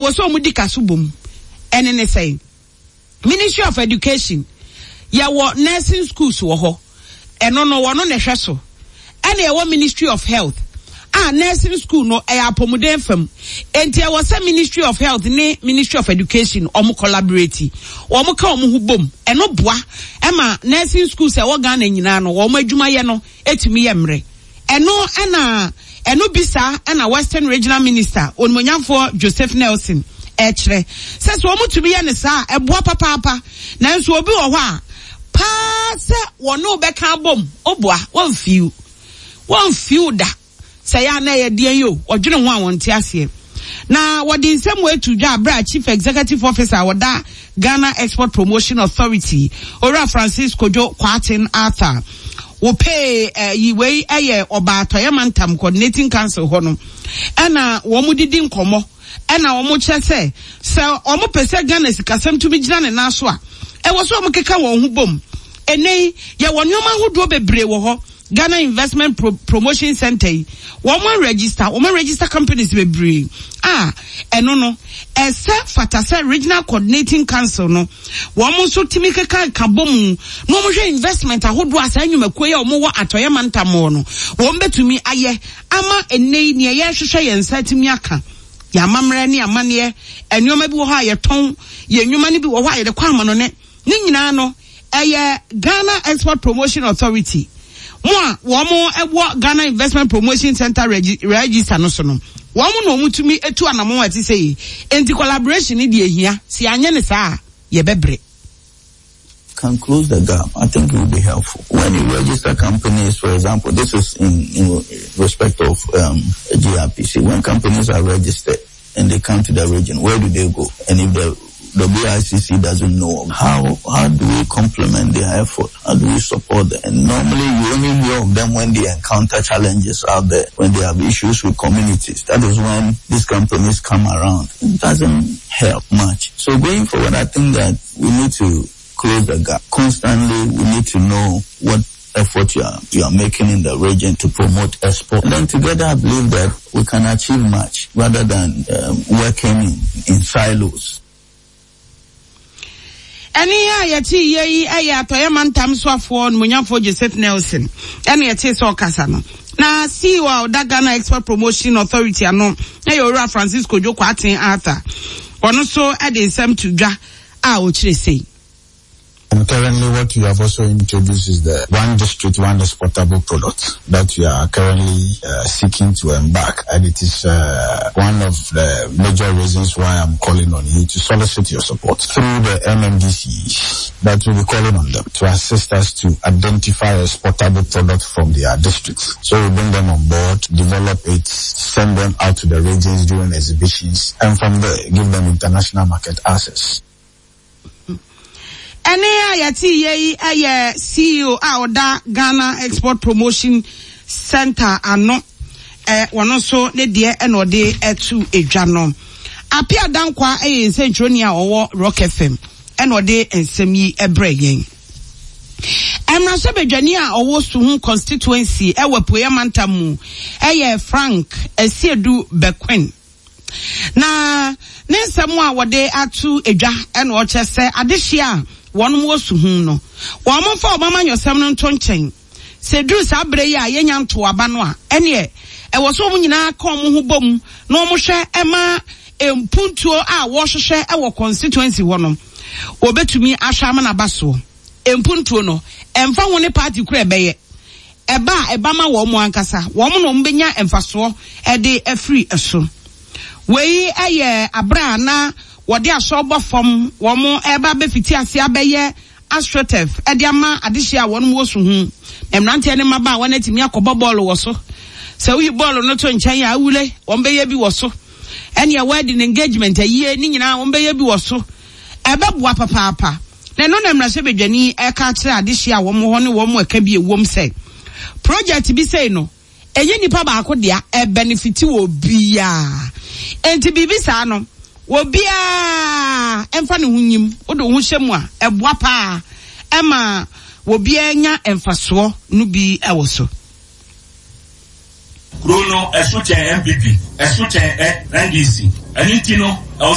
Ɛwɔ sɛ wɔn di ka so bom. Ɛne ne sɛn? Ministry of Education, yɛwɔ nursing schools wɔ hɔ. Ɛno no, wɔno na ɛhwɛ so. Ɛna yɛwɔ Ministry of Health a nursing school no ɛyɛ apɔmuden fam. Enti ɛwɔ sɛ Ministry of Health ne Ministry of Education wɔn collaborate. Wɔn ka wɔn ho bom. Ɛno boa ɛma nursing schools a ɛwɔ Ghana nyinaa no wɔn adwumayɛ no ɛtumi yɛ mmerɛ. Ɛno ɛna ɛno bi saa ɛna Western Regional Minister Onimuonyamfoɔ Joseph Nelson ɛkyerɛ sɛ sɛ wɔn tumi yɛ no saa a ɛboa papaapa. Nanso obi wɔ hɔ a paa sɛ wɔne wo bɛka abom oboa wɔnfiw wɔnfiw da sɛ ɛyɛ a na ɛyɛ deɛn yi o wɔdwene ho a wɔnte aseɛ. Na wɔde nsɛm wei to dwa berɛ a Chief Executive Officer a ɔda Ghana Export Promotion Authority, Owura Francis Kojo Kwarteng Arthur, wɔpee eh, wei yɛ Ɔbaa Atɔeɛ Mantam Coordinating Council hɔ no, ɛna wɔn didi nkɔmmɔ ɛna wɔn kyerɛ sɛ sɛ wɔn pɛ sɛ Ghana sikasɛm tumi gyina ne nan so a, ɛwɔ sɛ wɔn keka wɔn ho bom. Ɛnɛ yi, yɛwɔ nneɛma ahodoɔ bebree wɔ hɔ. Ghana Investment Pro Promotion Centre yi, wɔn aregister, wɔn aregister companies bebree a ɛno no, ɛsɛ fata sɛ Regional Coordinating Council no, wɔn nso tumi keka ka bɔ mu na wɔn hwɛ investment ahodoɔ a saa nnwumakuo yi a wɔn wɔ atɔeɛ mantam hɔ no, wɔn bɛtumi ayɛ ama ɛnnɛ yi nea yɛrehwehwɛ yɛn nsa atumi aka. Yɛn amammerɛ ne amanneɛ, nneɛma bi wɔ hɔ a yɛtɔn, yɛn nnwuma no bi wɔ hɔ a yɛde kɔ amanɔne. Ne nyinaa no, ɛyɛ Ghana Export Promotion Authority mo a wɔn wɔ Ghana Investment Promotion Center register no so no, wɔn na wɔn tumi tu anamɔn a ɛte sɛ yi. Enti collaboration no deɛ ehia, sɛ yɛanyɛ no saa a, yɛbɛbrɛ. Can close the gap, I think it will be helpful. When you register companies, for example, this is in, in respect of um, GRPC. When companies are registered and they come to the region, where do they go? And if the the BICC doesn't know how how do we complement their effort? How do we support them? And normally you only hear of them when they encounter challenges out there, when they have issues with communities. That is when these companies come around. It doesn't help much. So going forward, I think that we need to close the gap. Constantly, we need to know what effort you are, you are making in the region to promote export. And then together, I believe that we can achieve much rather than um, working in, in silos. Ɛnne a yɛtee yɛ yi yɛ Atɔeɛ Mantam soafoɔ Onimuonyamfoɔ Joseph Nelson ɛna yɛtee sɛ ɔkasa no. Na CEO a ɔda Ghana Export Promotion Authority ano yɛ Owura Francis Kojo Kwarteng Arthur. Ɔno nso de nsɛm to dwa a ɔkyerɛ sei. And currently what we have also introduced is the one district, one exportable product that we are currently uh, seeking to embark. And it is uh, one of the major reasons why I'm calling on you to solicit your support through the MMDCs that we'll be calling on them to assist us to identify exportable products from their districts. So we bring them on board, develop it, send them out to the regions during exhibitions, and from there give them international market access. Ɛnne a yɛteeɛ yi yɛ CEO a ɔda Ghana Export Promotion Centre ano. Ɔno nso ne deɛ ɛna ɔde ɛto edwa no. Apia Dankwa yɛ nsɛntwerɛni a ɔwɔ Rock FM ɛna ɔde nsɛm yi ɛbrɛ yɛn. Mmarahyɛbadwani a ɔwɔ Suhum constituency ɛwɔ Apueɛ Mantam mu ɛyɛ Frank Asiedu Bequin. Na ne nsɛm a wɔde ato dwa na ɔkyerɛ sɛ adehyeɛ a wɔnom wɔ su ho no, wɔn mfa wɔn amanyɔsɛm no nto nkyɛn. Sɛ ɛduru saa berɛ yi a yɛnya ntoo aba no a, ɛneɛ ɛwɔ sɛ wɔn nyinaa ka wɔn ho bom na wɔn hwɛ ma mpuntuo a wɔhwehwɛ wɔ constituency hɔ no, wɔbɛtumi ahwɛ ama no aba soɔ. Mpuntuo no, ɛmfa ho ne party koro a ɛbɛyɛ, ɛba a ɛba ma wɔn ankasa, wɔn na wɔbɛnya mfasoɔ de afiri so. Wei yɛ aberɛ a na wɔde asɔ bɔ fam, wɔn reba abɛfiti aseɛ abɛyɛ astroturf de ama adehyeɛ a wɔn wɔ so hu. Na mmeranteɛ ne mmabaawa no atumi akɔbɔ bɔɔlo wɔ so. Sɛ woyi bɔɔlo no to nkyɛn a, awule, wɔn bɛyɛ bi wɔ so. Ɛnneɛ wedding, engagement, ayie, ne nyinaa wɔn bɛyɛ bi wɔ so. Ɛbɛboa papaapa. Na ɛno na mmarahyɛbadwani reka akyerɛ adehye a wɔn wɔ hɔ ne wɔn a ɛka bi ɛwom sɛ project bi sei no ɛnyɛ nipa baako dea, ɛbɛnefiti wɔ obiara. Enti biribi saa no obiara ɛmfa ne ho nyim, wode wo ho hyɛ mu a ɛboa paa ɛma obiara nya mfasoɔ no bi ɛwɔ so. Kuro no ɛso kyɛn NPP, ɛso kyɛn NDC. Ɛno nti no.